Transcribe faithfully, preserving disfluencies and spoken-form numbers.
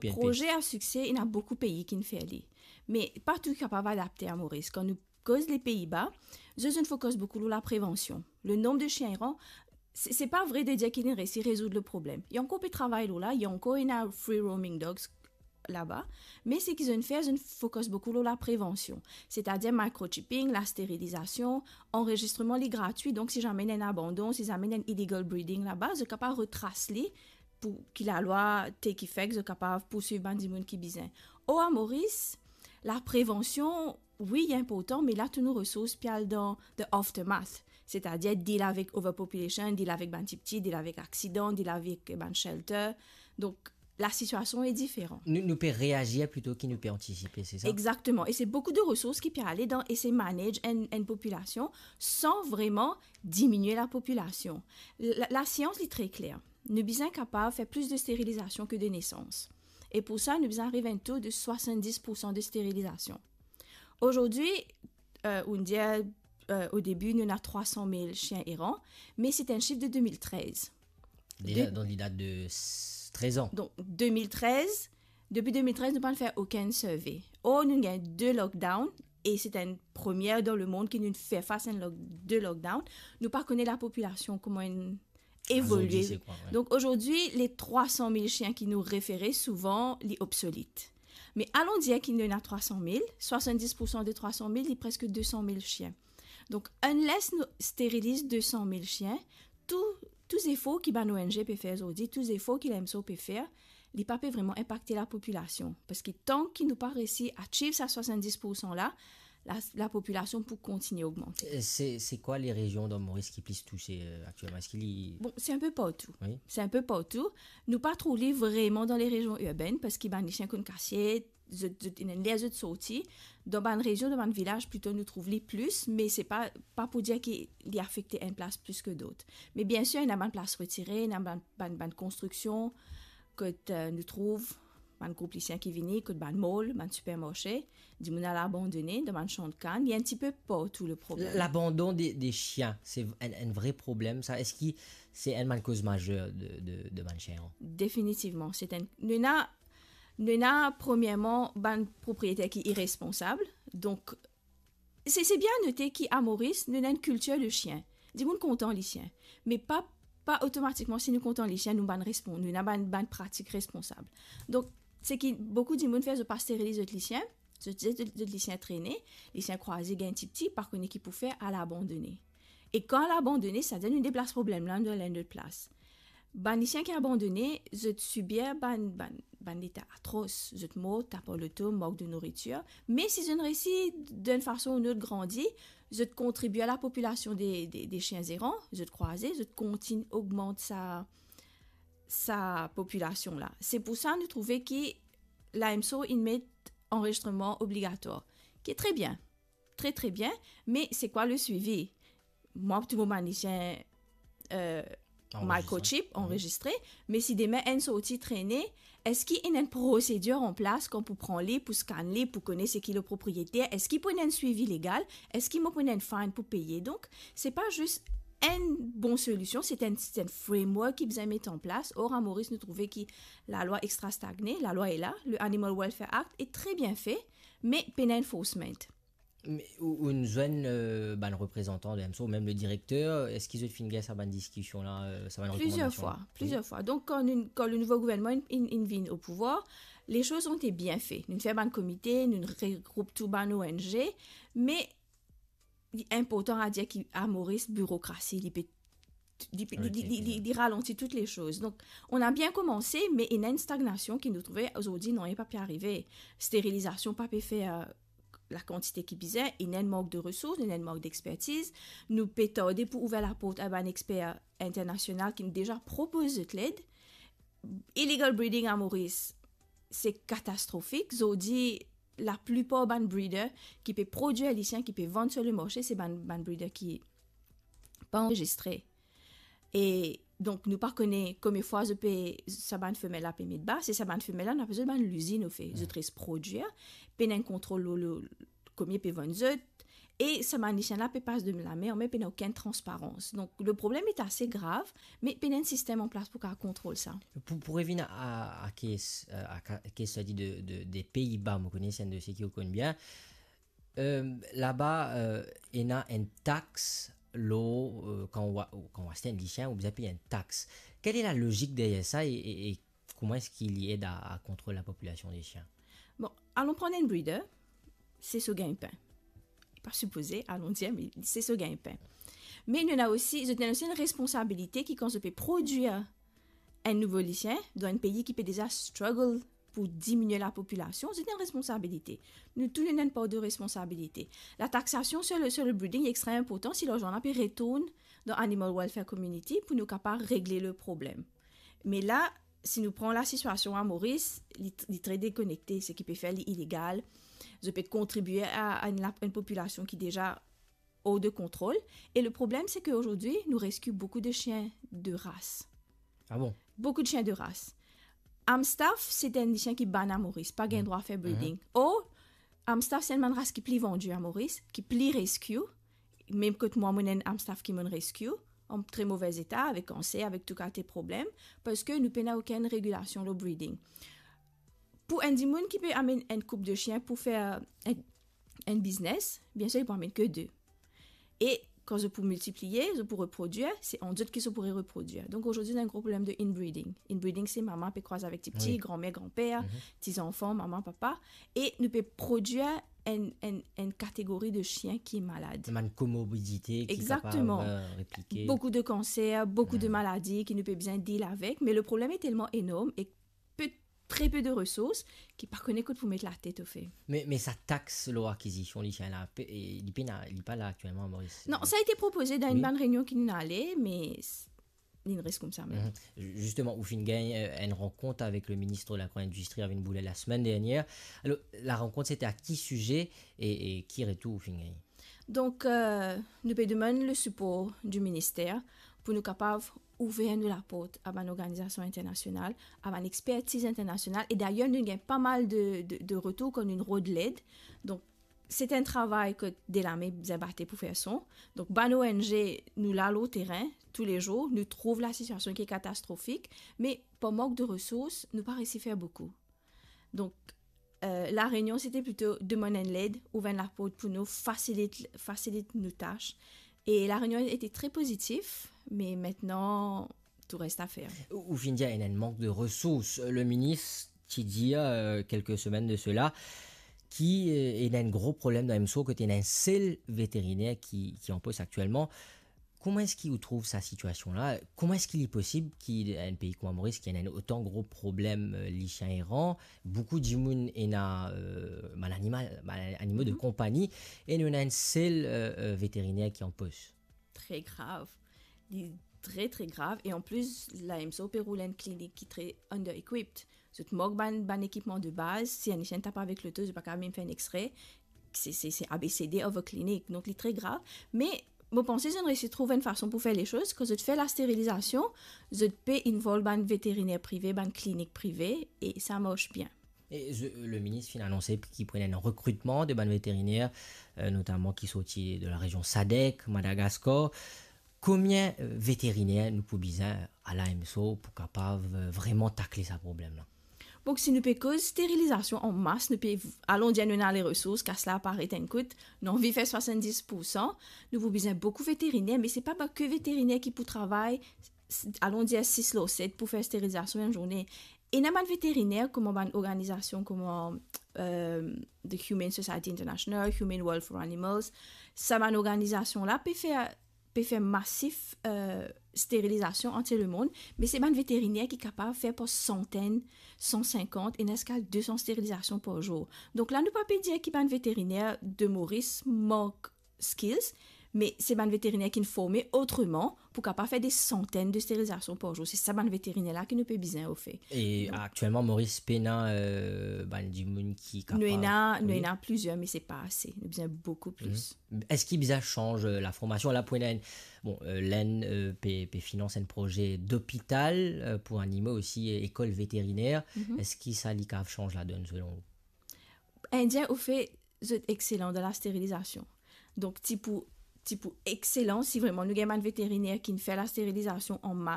Proze a sikse, ena boukou pei ki'nn fer li. Me pa tou kapav adapte a Moris. Kan nou koz le Pei-Ba, zot, zot fokis boukou lor laprevansion. Le nonb de sien eran, se, se pa vre de dir ki'nn resi rezoud le problem. Li ankor pe travay lor la, li ankor ena free roaming dogs laba, me seki zot fer, zot fokis boukou lor laprevansion. Setadir microchipping, lasterilizasion, anrezistreman li gratwi, donk si zame ena enn abandon, si zame ena enn illegal breeding laba, zot kapav retras li pou ki lalwa take effect, zot kapav pourswiv bann dimoun ki bizin. Or a Moris, laprevansion, wi, li inportan, me la tou nou resours pe al dan the aftermath, setadir deal avek overpopulation, deal avek bann tipti, deal avek aksidan, deal avek bann shelter. Donk, lasitiasion e diferan. Nou, nou pe reazir plito ki nou pe antisipe, se sa? Exakteman. E se boukou de resours ki pe ale dan esey manage enn, enn popilasion san vreman diminie lapopilasion. La, lasians, li tre kler. Nou bizin kapav fer plis de sterilizasion ke de nesans. E pou sa, nou bizin ariv a enn to de swasanndis poursan de sterilizasion. Azordi, euh, ou'nn dir, euh, o debi, nou ena trwa san mil sien eran, me se enn sif de de mil trez. Deza, de- donk, li dat de s-, trez an. Donk, de mil trez, depi de mil trez, nou pa'nn fer okenn survey. Or, nou gagn de lockdown, e se enn premie dan lemond ki nou fer fas enn lock-, de lockdown. Nou pa kone lapopilasion kouma inn evolie. Azordi, se kwa, wi. Donk, azordi, le trwa san mil sien ki nou refere, souvan, li obsolit. Me alon dir ki nou ena trwa san mil, swasanndis poursan de trwa san mil, li preske de san mil sien. Donk, unless nou steriliz de san mil sien, tou, tou zefor ki bann O N G pe fer azordi, tou zefor ki la M S O pe fer, li pa pe vreman inpakte lapopilasion. Parski tan ki nou pa resi achieve sa swasanndis poursan la, la, lapopilasion pou kontinie ogmante. E se, se kwa le rezion dan Moris ki plis touse, euh, aktielman? Eski li Bon, se inpe partou. Wi. Se inpe partou. Nou pa trouv li vreman dan le rezion irbenn, parski bann lisien konn kasiet, zot, zot, ena ler zot sorti. Dan bann rezion, dan bann vilaz, plito nou trouv li plis, me se pa, pa pou dir ki li afekte enn plas plis ke dot. Me biensir, ena bann plas retire, ena bann, bann, bann konstriksion kot, euh, nou trouv bann group lisien ki vini, kot bann mall, bann sipermarse, dimoun al abandone dan bann san kann. Li enn tipe partou, le problem. Labandon de, de sien, se enn, enn vre problem, sa. Eski se enn bann koz mazer de, de, de bann sien? Definitivman. Se enn, nou ena, nou ena, premierman, bann propriyeter ki iresponsab. Donk, se, se bien note ki a Moris, nou ena enn kiltir de sien. Dimoun kontan lisien. Me pa, pa otomatikman, si nou kontan lisien, nou bann respon-, nou ena bann, bann pratik responsab. Donk, seki boukou dimoun fer, zot pa steriliz zot lisien, zot, zot, zot, zot lisien trene, lisien kraze, gagn tipti, pa kone ki pou fer, al abandone. E kan al abandone, setadir nou deplas problem la, nou al enn lot plas. Bann lisien ki abandone, zot sibir bann, bann, bann leta atros, zot mor, tap ar loto, mank de nouritir. Me si zot resi, d'enn fason ou lot, grandi, zot kontribie a lapopilasion de, de, de sien eran, zot kraze, zot kontign ogmant sa, sa popilasion la. Se pou sa nou trouve ki la M S O inn met anrezistreman obligatwar, ki tre bien, tre, tre bien, me se kwa le swivi? Mwa, tou mo bann lisien, euh, Anrezistre. Microchip, wi, anrezistre, me si demin enn sorti trene, eski ena enn prosedir an plas kan pou pran li, pou scan li, pou kone seki le propriyeter, eski pou ena enn swivi legal, eski mo pou ena enn fine pou peye? Donk, se pa zis enn bon solision, se enn, se enn framework ki bizin met an plas. Or, a Moris, nou trouve ki lalwa extra stagne, lalwa e la, le Animal Welfare Act e tre bien fe, me pena enforcement. Me ou, ou'nn zwenn, euh, bann reprezantan de M S O, ou mem le direkter, eski zot finn gagn sa bann diskision la, euh, sa bann rekomandasion? Plizier fwa, plizier fwa. Donk, kan nou, kan le nouvo gouvernman inn, inn, inn vinn o pouvwar, les choses ont été bien faites. Nou fer bann komite, nou regroup tou bann O N G, me li inportan a dir ki a Moris, birokrasi, li pe, li pe, li, li, li, li, li ralanti tout les choses. Donk, on a bien komanse, me ena enn stagnasion ki nou trouve azordi, non, li pa pe arive. Sterilizasion pa pe fer, euh, lakantite ki bizin, ena enn mank de resours, ena enn mank dexpertiz. Nou pe tarde pou ouver laport a bann exper internasional ki deza propoz zot led. Illegal breeding a Moris, se katastrofik. Zordi, laplipar bann breeder ki pe prodwir lisien, ki pe vann sur le marse, se bann, bann breeder ki pa anrezistre. E donk, nou pa kone konbien fwa zot pe, sa bann femel la pe met ba, se sa bann femel la, nou apel zot bann lizin, anfet. Zot res prodwir, pena enn kontrol lor, lor, konbien pe vann zot, E sa bann lisien la pe pas dan lame, me pena okenn transparans. Donk, le problem est assez grave, me pena enn sistem an plas pou kapav kontrol sa. Pou, pou revinn a, a kes, a ka-, kes study de, de, de Pei-Ba, mo kone se enn dosie ki ou konn bien. Euh, laba, euh, ena enn tax lor, euh, kan ou a-, kan ou aste enn lisien, ou bizin pey enn tax. Quelle est la logique derrière ça et, et, et comment est-ce qu'il y aide à, à contrôler la population des chiens ? Bon, alon pran enn breeder, se so gagne-pain. Li pa sipoze, alon dir, me se so gagne-pain. Me nou ena osi, zot ena osi enn responsabilite ki kan zot pe prodwir enn nouvo lisien, dan enn pei ki pe deza struggle pou diminie lapopilasion, zot ena enn responsabilite. Nou tou nou ena enn par de responsabilite. La taxation sur le, sur le breeding est extrêmement important si larzan la pe retourn dan animal welfare community pou nou kapav regle le problem. Me la, si nou pran la sitiasion a Moris, li, li tre dekonekte, seki pe fer li ilegal. Zot pe kontribie a, a enn la-, enn popilasion ki deza hors de contrôle. E le problem, se ke azordi, nou rescue beaucoup de chiens de race. Ah bon ? Beaucoup de chiens de race. Amstaff, se enn lisien ki bann a Moris, pa gagn drwa fer breeding. Or, Amstaff, se enn bann ras ki pli vandi a Moris, ki pli rescue. Mem kot mwa, mo ena enn Amstaff ki mo'nn rescue, an tre move eta, avek kanser, avek tou kalite problem, parski nou pena okenn regilasion lor breeding. Pou enn dimoun ki pe amenn enn koup de sien pou fer enn, enn biznes, biensir, li pou amenn ke de. E kan zot pou miltiplie, zot pou reprodwir, se ant zot ki zot pou reprodwir. Donk, azordi, nou ena enn gro problem de inbreeding. Inbreeding, se mama pe krwaz avek tipti, granmer, granper, ti zanfan, mama, papa, e nou pe prodwir enn, enn, enn kategori de sien ki malad. Bann komorbidite ki kapav, euh, replike. Beaucoup de cancers, beaucoup de maladies ki nou pe bizin deal avek, me le problem est tellement énorme e pe, très peu de ressources ki pa kone kot pou met latet, ofe. Me, me sa tax lor akizision lisien la, pe, e, li pena, li pa la aktielman, Moris. Non, sa été proposé dan enn bann reynion ki nou ale, me s-, li res koumsa mem. Zisteman, ou finn gagn, euh, enn rankont avek le minis lagro-indistri, Arvin Boulay, lasemenn dernier. Alor, la rankont, sete a ki size e, e ki retour ou finn gagn ? Donk, euh, nou pe demann le sipor di minister pou nou kapav ouver nou laport a bann organizasion internasional, a bann expertiz internasional, e dayer nou gagn pa mal de, de, de retour kan nou rod led. Donk, se enn travay kot Delame bizin bate pou fer son. Donk, bann O N G, nou la lor terin toulezour, nou trouv lasitiasion ki katastrofique, me par mank de resours, nou pa resi fer boukou. Donk, euh, La Réunion, sete plito demann enn led, ouver enn laport pou nou, fasilit, fasilit nou tas. E La Réunion été très positif, me aster, tou res a fer. Ou, ou finn dir, ena enn mank de resours. Le minis ti dir, euh, kelke semenn de sela, ki, euh, ena enn gro problem dan M S O, kot ena enn sel veteriner ki, ki an pos aktielman. Kouma eski ou trouv sa sitiasion la ? Kouma eski li posib ki enn pei kouma Moris, ki ena otan gro problem, euh, lisien eran, boukou dimoun ena, euh, bann animal, bann animo de konpagni, e nou ena enn sel, euh, euh, veteriner ki an pos ? Tre grav. Li tre, tre grav. E an plis, la M S O pe roul enn klinik ki tre under-equipped. Zot mank bann, bann ekipman de baz. Si enn lisien tap avek loto, zot pa kapav mem fer enn X-ray. Se, se, se A B C D of a clinic. Donk, li tre grav. Me, mo panse zot inn resi trouv enn fason pou fer lesoz. Kan zot fer lasterilizasion, zot pe involve bann veteriner prive, bann klinik prive, e sa mars bien. E ze-, le minis finn anonse ki pou ena enn rekritman de bann veteriner, euh, notaman ki sorti de la rezion sadek, Madagaskar. Konbien, euh, veteriner nou pou bizin a la M S O pou kapav, euh, vreman takle sa problem la ? Bon, si nou pe koz sterilizasion an mas, nou pe v-, alon dir nou ena leresours, kas la aparet enn kout, nou anvi fer swasanndis poursan, nou pou bizin boukou veteriner, me se pa, pa ke veteriner ki pou travay, s-, alon dir sis lor set pou fer sterilizasion enn zourne. Ena bann veteriner, kouma bann organizasion kouma, euh, the Humane Society International, Humane World for Animals, sa bann organizasion la pe fer, pe fer masif, euh, sterilizasion antier lemond, me se bann veteriner ki kapav fer par santenn, san sinkant, ena ziska de san sterilizasion par zour. Donk la, nou pa pe dir ki bann veteriner de Moris mank skills, me se bann veteriner ki'nn forme otreman pou kapav fer de santenn de sterilizasion par zour. Se sa bann veteriner la ki nou pe bizin ofer. E aktielman, Moris pena, euh, bann dimoun ki kapav... Nou ena, nou ena plizier, me se pa ase. Nou bizin boukou plis. Eski bizin sanz, euh, laformasion ? La pou ena enn, bon, euh, Lenn, euh, pe, pe finans enn proze lopital, euh, pou animo osi, euh, lekol veteriner. Eski sa li kapav sanz ladonn selon ou ? Indien, ofe, zot exelan dan lasterilizasion. Donk, ti pou, ti pou exelan si vreman nou gagn bann veteriner ki fer lasterizasion an mas.